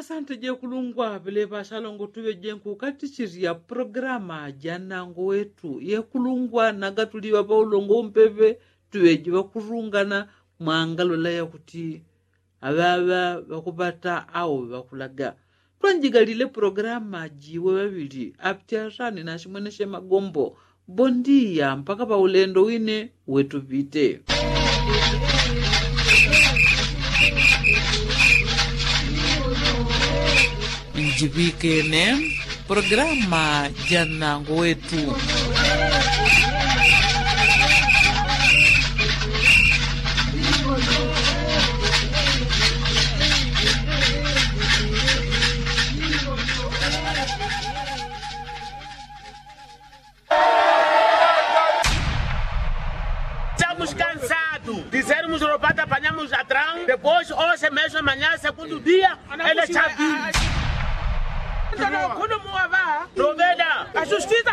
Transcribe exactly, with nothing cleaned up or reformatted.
Asante jekulungwa pelepa asalongo tuŵeje nkukatichirya programa ja nnango wetu yekulungwa naga tuliŵa paulongo umpepe tuŵeje ŵakurungana. Mwangalola yakuti aŵaŵa ŵakupata au ŵakulaga. Twanjigalile programa jiwe ŵaŵili apti asani nasimweneshe magombo. Bondiya mpaka paulendo wine wetupite. Njiŵikene programa ja nnango wetu. Estamos cansados de sermos roubados, apanhamos ladrão, depois hoje mesmo, amanhã, segundo dia, ele já vive. Troveda. A justiça